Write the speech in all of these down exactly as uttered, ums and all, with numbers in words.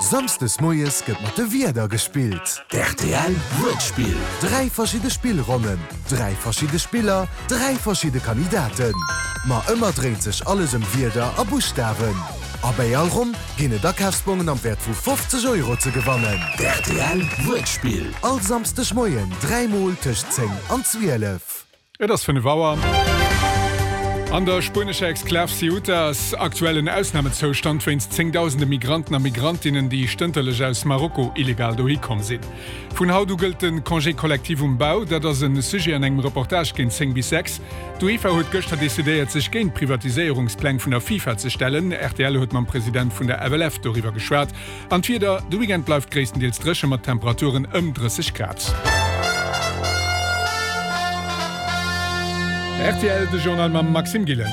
Samsdes moies gëtt mat de Wierder gespillt. D'RTL Wuertspill. Dräi verschidde Spillronnen, dräi verschidde Spiller, dräi verschidde Kandidaten. Ma ëmmer dréint sech alles ëm Wierder a Buschtawen. A bei all Ronn ginn et Akafsbongen am Wäert vu fofzeg Euro ze gewannen. D'RTL Wuertspill. All Samsdeg Moien dräi Mol tëscht zéng an zwielef. Et ass fënnef Auer. An der spuenescher Exklav Ceuta ass aktuell en Ausnamezoustand wéinst zéngdausende Migranten a Migrantinnen, déi stënterlech aus Marokko illegal dohi komm sinn. Vun haut u gëllt de Congé collectif um Bau. Dat ass e Sujet an engem Reportage géint zéng bis sechs. D'UEFA huet gëschter decidéiert, sech géint d'Privatiséierungspläng vun der FIFA ze stellen. Rtl huet mam President vun der F L F doriwwer geschwat. An d'Wieder, De Weekend bleift gréisstendeels dréche mat Temperaturen ëm drësseg Grad. Rtl, de Journal mam Maxime Gillen.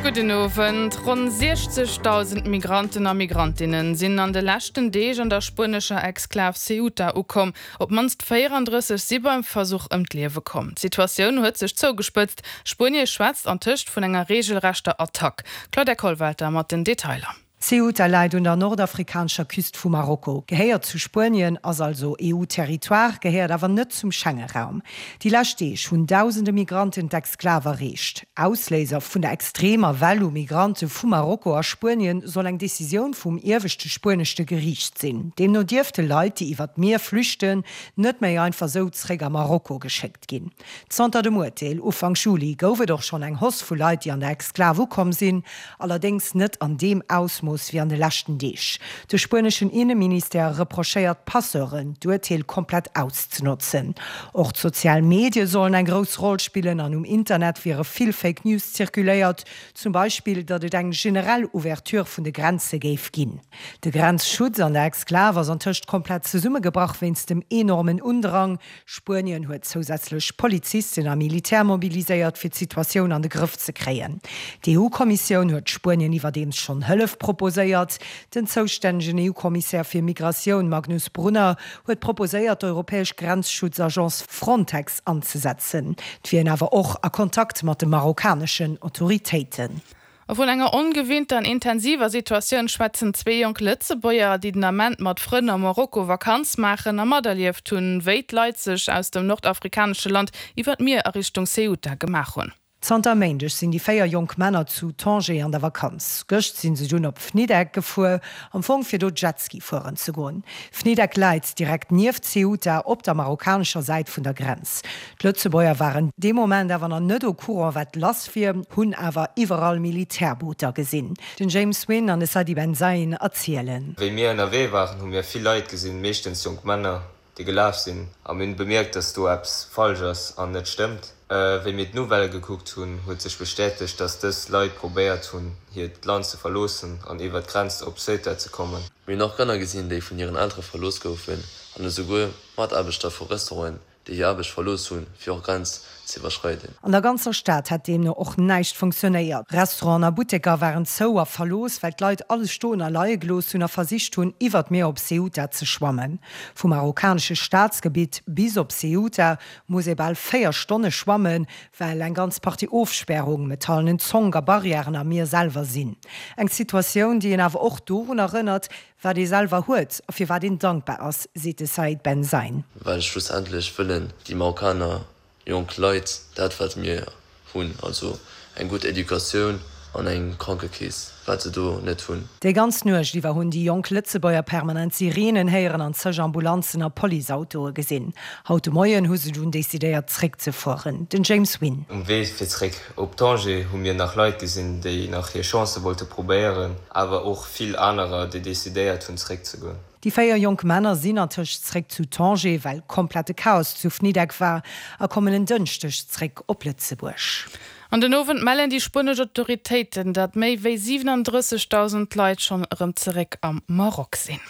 Gudden Owend. Ronn siechzegdausend Migranten a Migrantinnen sinn an de leschten Deeg an der spuenescher Exklav Ceuta ukomm. Op d'mannst véierandrësseg si beim Versuch ëm d'Liewe komm. D'Situatioun huet sech zougespëtzt. Spuenie schwätzt antëscht vun enger reegelrechter Attack. Claudia Kollwelter mat den Detailer. Ceuta läit un der nordafrikanescher Küst vu Marokko, gehéiert zu Spuenien, ass also E U-Territoire, gehéiert awer net zum Schengenraum. Déi lescht Deeg hunn dausende Migranten d'Exklav erreecht. Ausléiser vun der extremer Well u Migrante vu Marokko a Spuenien soll eng Decisioun vum ieweschte spuenesche Geriicht sinn. Deemno dierfte Leit, déi iwwer d'Mier flüchten, net méi einfach sou zeréck a Marokko geschéckt ginn. Zanter dem Urteel Ufank Juli gouf et och schonn eng Hausse vu Leit, déi an der Exklav ukomm sinn, allerdéngs net an deem Ausmooss wéi an de leschten Deeg. De spueneschen Inneministère reprochéiert Passeuren, d'Urteel komplett auszenotzen. Och d'sozial Medie sollen eng grouss Roll spillen an um Internet wiere vill Fake News zirkuléiert, zum Beispill, datt et eng generell Ouverture vun de Grenze géif ginn. De Grenzschutz an der Exklav ass antëscht komplett zesummegebrach wéinst dem enormen Undrang. Spuenien huet zousätzlech Polizisten a Militär mobiliséiert, fir d'Situatioun an de Grëff ze kréien. D'E U-Kommissioun huet Spuenien iwwerdeems schonn Hëllef proposéiert. Den zoustännegen E U-Kommissär fir Migratioun Magnus Brunner huet proposéiert, d'europäesch Grenzschutzagence Frontex anzesetzen. Et wier een awer och a Kontakt mat de marokkaneschen Autoritéiten. A vun enger ongewinnter an intensiver Situatioun schwätzen zwee jonk Lëtzebuerger, déi den Ament mat Frënn a Marokko Vakanz maachen a materlieft hunn, wéi d'Leit sech aus dem nordafrikanesche Land iwwer d'Mier a Richtung Ceuta gemaach hunn. Zanter Méindeg sinn déi véier jonk Männer zu Tanger an der Vakanz. Gëscht sinn se dunn op Fnideq gefuer, am Fong fir do Jetski fueren ze goen. Fnideq läit direkt nieft Ceuta op der marokkanescher Säit vun der Grenz. D'Lëtzebuerger waren dee Moment awer nach net au courant wat lass wier, hunn awer iwwerall Militärbooter gesinn. Den James Wynn an de Sadi Ben Zain erzielen. Wéi mir ënnerwee waren, hu mir vill Leit gesinn, meeschtens jonk Männer, déi gelaf sinn. A mir hunn bemierkt, dass do eppes falsch ass an net stëmmt. Wéi mir d'Nouvellë gekuckt hunn, huet sech bestätegt, dass dës Leit probéiert hunn, hiert Land ze verloossen an iwwer d'Grenz op Ceuta ze kommen. Mir hunn och Kanner gesinn, déi vun hiren Eltere verlooss goufen an esouguer Mataarbechter vu Restauranten, déi hir Aarbecht verlooss hunn, fir och d'Grenz ze iwwerschreiden. An der ganzer Stad hätt deemno och näischt funktionéiert. Restauranten a Butteker waren zou a verlooss, well d'Leit alles stoen a leie gelooss hunn a versicht hunn, iwwer d'Mier op Ceuta ze schwammen. Vum marokkanesche Staatsgebitt bis op Ceuta muss ee bal véier Stonne schwammen, well eng ganz Partie Ofspärungen, metallenen Zonk a Barrièren am Mier selwer sinn. Eng Situatioun, déi een awer och dorun erënnert, wat ee selwer huet a fir wat een dankbar ass, seet de Said Ben Zain. Well schlussendlech wëllen déi Marokkaner jonk Leit dat wat mir hunn, also eng gutt Educatioun an eng Krankekeess, wat se do net hunn. Déi ganz Nuecht iwwer hunn déi jonk Lëtzebuerger permanent Sireenen héieren an zeg Ambulanzen a Policeautoe gesinn. Haut de Moien hu se dunn decidéiert zréckzefueren. Den James Wynn. Um Wee fir zréck op Tanger hu mir nach Leit gesinn, déi nach hir Chance wollte probéieren, awer och vill anerer, déi decidéiert hunn zréckzegoen. Déi véier jonk Männer sinn antëscht zréck zu Tanger, well komplette Chaos zu Fnideq war, a kommen en Dënschdeg zréck op Lëtzebuerg. An den Owend mellen déi spuenesch Autoritéiten, datt méi wéi siwenendrëssegdausend Leit schonn erëm zeréck am Maroc sinn.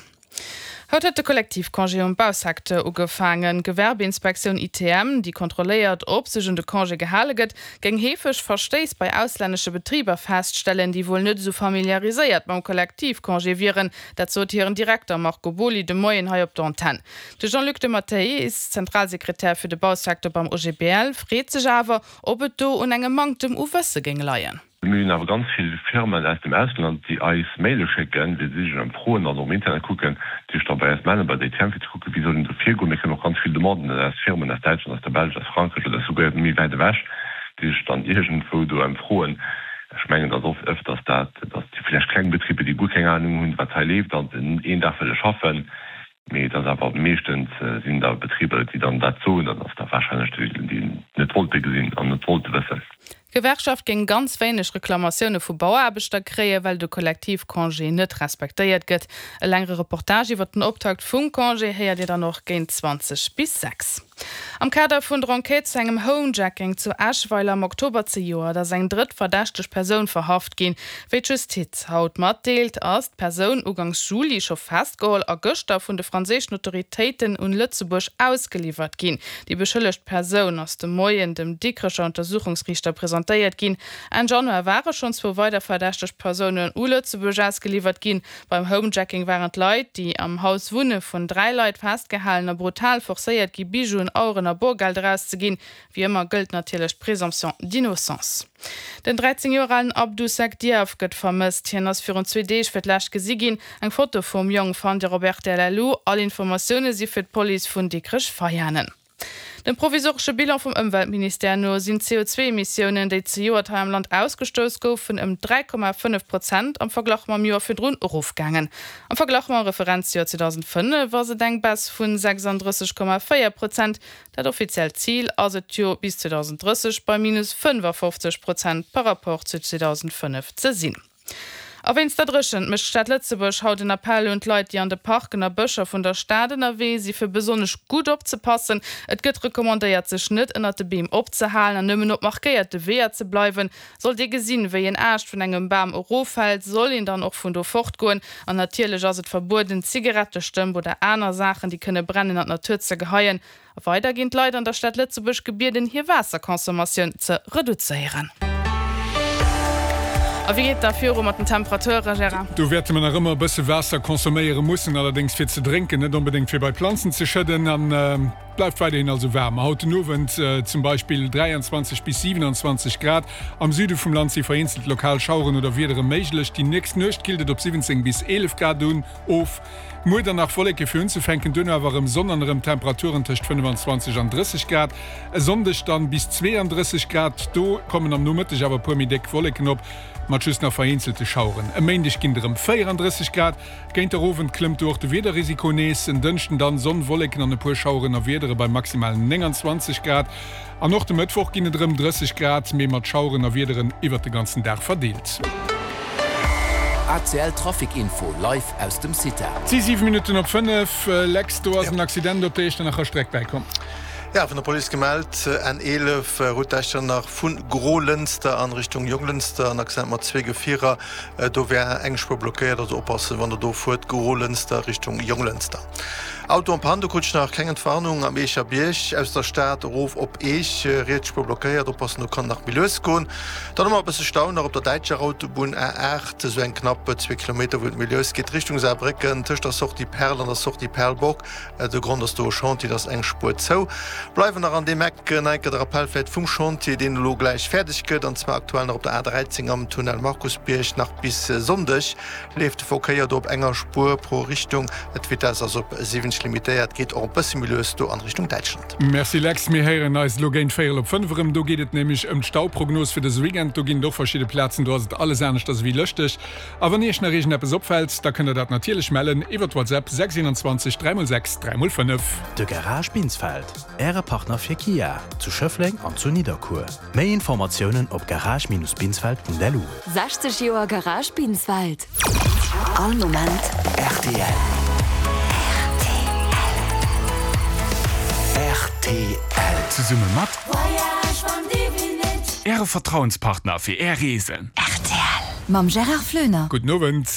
Haut huet de Kollektivcongé um Bausecteur ugefaangen. D'Gewerbeinspektioun I T M, déi kontrolléiert, ob sech un de Congé gehale gëtt, géing heefeg Verstéiss bei auslännesche Betriber feststellen, déi wuel net esou familiariséiert mam Kollektivcongé wieren. Dat sot hiren Direkter Marco Boly de Moien hei op der Antenn. De Jean-Luc de Matteis, Zentralsekretär fir de Bausecteur beim O G B L, freet sech awer, ob et do un engem Manktem u Wësse géing leien. Mir hunn awer ganz vill Firmen aus dem Ausland, déi eis Maile schécken, wéi si sech ëmfroen an och am Internet kucken, déi sech da bei eis mellen, bei der I T M, fir ze kucken, wéi soll een do virgoen. Mir kréien och ganz vill Demanden aus Firmen aus Däitschland, aus der Belsch, aus Frankräich oder souguer méi wäit ewech, déi sech dann iergendwou do ëmfroen. Ech mengen, et ass oft ëfters dat, dass déi vläicht kleng Betriber, déi guer keng Anung hunn, wat hei leeft, an een Dag wëlle schaffen, Mee et ass awer meeschtens sinn da Betriber, déi dann dat soen, dat ass da warscheinlech déi, déi net wollte gesinn an net wollte wëssen. D'Gewerkschaft géing ganz wéineg Reklamatioune vu Bauaarbechter kréien, well de Kollektivcongé net respektéiert gëtt. E längere Reportage iwwer den Optakt vum Congé héiert Dir dann och géint zwanzeg bis sechs. Am Kader vun der Enquête zu engem Homejacking zu Eschweiler am Oktober zejoert ass eng drëtt verdächteg Persoun verhaft ginn. Wéi d'Justiz haut matdeelt, ass d'Persoun ugangs Juli scho festgeholl a gëschter vun de franséischen Autoritéiten un Lëtzebuerg ausgeliwwert ginn. Déi beschëllegt Persoun ass de Moien dem Dikrecher Untersuchungsriichter presentéiert ginn. Enn Januar ware schonn zwou weider verdächteg Persounen u Lëtzebuerg ausgeliwwert ginn. Beim Homejacking waren d'Leit, déi am Haus wunne, vun dräi Leit festgehalen a brutal forcéiert gi Bijouen, Aueren a Borgeld erauszeginn. Wéi ëmmer gëllt natierlech d'Présomption d'innocence. Den dräizéng Joer alen Abdou Seck Diaf gëtt vermësst. Hien ass virun zwee Deeg fir d'lescht gesi ginn. Eng Foto vum Jong fannt Dir op rtl. Lu. All Informatioune si fir d'Police vun Dikrech-Veianen. Dem provisoresche Bilan vum Ëmweltministère no sinn d'C O zwee Emissiounen, déi zejoert hei am Land ausgestouss goufen, ëm dräi Komma fënnef Prozent am Verglach mam Joer virdrun erofgaangen. Am Verglach mam Referenzjoer zweedausendfënnef ass et eng Baisse vun sechsanddrësseg Komma véier Prozent. Dat offiziellt Zil ass et jo, bis zweedausendrësseg bei minus fënnefafofzeg Prozent par rapport zu zweedausendfënnef ze sinn. A wéinst der Dréchent mécht d'Stad Lëtzebuerg haut en Appell un d'Leit, déi an de Parken a Bëscher vun der Stad ënnerwee si fir besonnesch gutt opzepassen. Et gëtt recommandéiert, sech net ënnert de Beem opzehalen an nëmmen op markéierte Weeër ze bleiwen. Sollt ee gesinn, wéi en Aascht vun engem Bam eroffält, soll een dann och vun do fortgoen. An natierlech ass et verbueden, Zigarettestëmp oder aner Saachen, déi kënne brennen, an d'Natur ze geheien. A weider ginn d'Leit an der Stad Lëtzebuerg gebieden, hir Waasserconsommatioun ze reduzéieren. A wéi geet et da viru mat den Temperaturen, Gérard? Do wäerte mer nach ëmmer e bësse Waasser consomméiere mussen, allerdéngs fir ze drénken, net onbedéngt fir bei Planzen ze schëdden. An et bleift weiderhin also waarm. Haut den Owend zum Beispill dräianzwanzeg bis siwenanzwanzeg Grad. Am Süde vum Land si vereenzelt lokal Schaueren oder Wiedere méiglech. Déi nächst Nuecht killt et op siwwenzéng bis eelef Grad un of. Muer dann nach Wolleke fir unzefänken, duerno awer erëm Sonn an erëm Temperaturen tëscht fënnefanzwanzeg an drësseg Grad. E Sonndeg dann bis zweeandrësseg Grad, do kommen am Nomëtteg awer e puer méi déck Wolleken op, mat just nach vereenzelte Schaueren. E Méindeg ginn et erëm véierandrësseg Grad, géint der Owend klëmmt do och de Wiederrisiko nees. En Dënschden dann Sonn, Wolleken an e puer Schaueren a Wiedere bei maximal nénganzwanzeg Grad. An och de Mëttwoch ginn et erëm drësseg Grad, mee mat Schaueren a Wiederen iwwert de ganzen Dag verdeelt. A C L Trafic Info live aus dem CITA. Et si siwe Minutten op fënnef. Lex, do ass en Accident op der Iechternacher Streck bäikomm. Ja, vun der Police gemellt, N eelef, Route d'Echternach vu Grolënster an Richtung Jonglënster, en Accident mat zwee Gefierer. Do wär eng Spuer blockéiert, also oppassen, wann der do fuert, Grolënster Richtung Jonglënster. Auto en panne, do krut ech nach keng Entwarnung, am Eecher Bierg aus der Stad erof op Eech, riets Spuer blockéiert, oppassen, do kann nach méi lues goen. Dann hu mer e bësse Stau nach op der däitscher Autobunn A aacht, esou eng knapp zwee Kilometer, wou et méi lues geet Richtung Saarbrécken, tëscht der Sortie Perl an der Sortie Perlbock. De Grond ass do e Chantier, et ass eng Spuer zou. Bleiwen nach an deem Eck, nach eng Kéier de Rappell vläicht vum Chantier, deen elo gläich fäerdeg gëtt, an zwar aktuell nach op der A dräizéng am Tunnel Markusbierg. Nach bis Sonndeg leeft de Verkéier do op enger Spuer pro Richtung. D'Vitess ass op siwwenzeg limitéiert, geet och e bësse méi lues do an Richtung Däitschland. Merci Lex, mir héieren eis elo géint véierel op fënnef erëm. Do geet et nämlech ëm d'Stauprognos fir dëse Weekend. Do ginn et och verschidde Plazen, do ass et alles aneschters ewéi lëschteg. A wann Iech nach iergendeppes opfält, da kënnt der dat natierlech mellen iwwert WhatsApp sechs eenanzwanzeg dräi mol sechs dräi mol fënnef. De Garage Binsfeld, Äre Partner fir Kia, zu Schëffleng an zu Nidderkuer. Méi Informatiounen op garage-binsfeld.lu. sechzeg Joer Garage Binsfeld. All Moment R T L. R T L. Zesumme mat Voyage van Divinit. Äre Vertrauenspartner fir Är Reesen. R T L. Mam Gérard Floener. Gudden Owend.